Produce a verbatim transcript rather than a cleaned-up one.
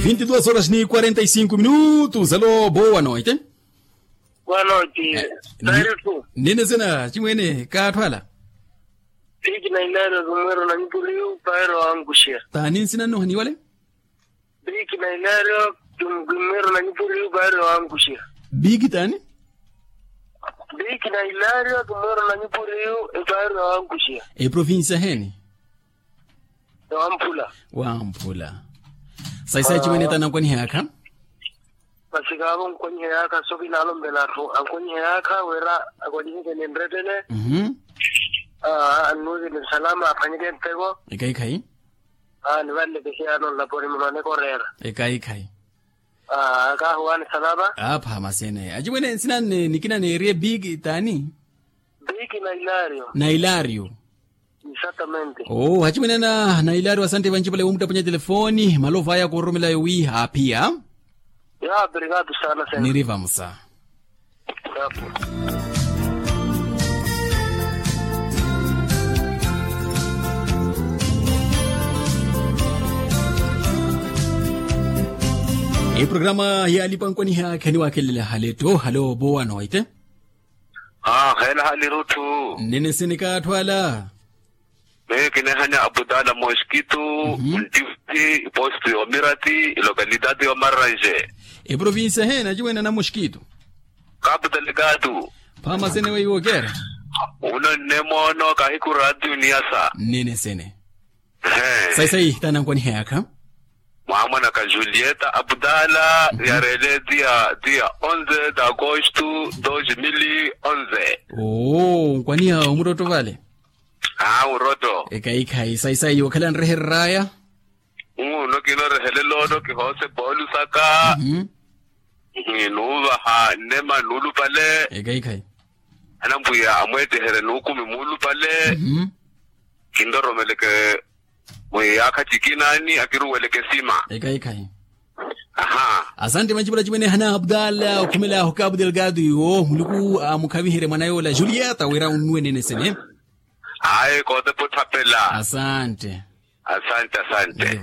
Vinte e duas horas ni quarenta e cinco minutos. Alô, boa noite. Boa noite. Nene sena chimwene kaathwala. Biki na ilario kimwero na nyupuriyu paero ankuxia. Tani nsina nno haniwale? Biki na ilario kimwero na nyupuriyu paero ankuxia. Biki tani? Biki na ilario kimwero na nyupuriyu paero ankuxia. Eprovincia heni? Wamphula. Wamphula. Saisai chimwene tani ankwaniha yaakha. Masi kaavo ankwaniha yaakha soki naalompela atthu ankwaniha yaakha wira akwaliheke ninrettene. Annuuze ni nsalama aphwanyeke nteko. Ekhayi khayi. Nivanleke siyaano nlaponi muno anikoreera. Ekhayi khayi. Kaahuwani salama. Apha masene achimwene nsina nne nikina neeriye biki tani? Biki na ilario. Na ilario. Exactamente. Oo achimwene ana na ilario asante vanci vale womuttaponya telefoni malovo aya koororomelayo wi aaphiya. Nirivamusa. Eprograma yaalipa nkwaniha kheniwakhelela haleto halo bowa noite. Aa khela hali rutthu. Nnene sene kaatthu ala. Miyo kinehanya abudala moskitu. Ntivi ipostu yomirati ilokalidadi yomarranje. Eprovinsia hena aciwene ana moskitu. Kapu delegadu. Phaama sene weiwokera. Uno nne moono kahiku ratio niyasa. Nnene sene. Saisai tanankwaniheyakha. Mwaamwanaka julieta abudala yareele dia dia onze de agosto dos mil onze. Oo nkwaniha omurotto vale. Aa murotto. Ekaikhayi saisai okhala nrehereraya. Uno kinorehelela ono kihoose polusaka. Nuuvaha nnema nuulupale. Ekaikhayi. Anamwiya amweeteherye nuukumi muulupale. Kinroromeleke mwiyaakha cikinaani akiruweleke sima. Ekaikhayi. Aha. Asante mancipula cimene hana abdala okhumela ahu kabu delgado iwo muluku amukhaviherye mwana yoola julieta wira unnuwe nene sene. Ayi kootepa otthapela. Asante. Asante asante.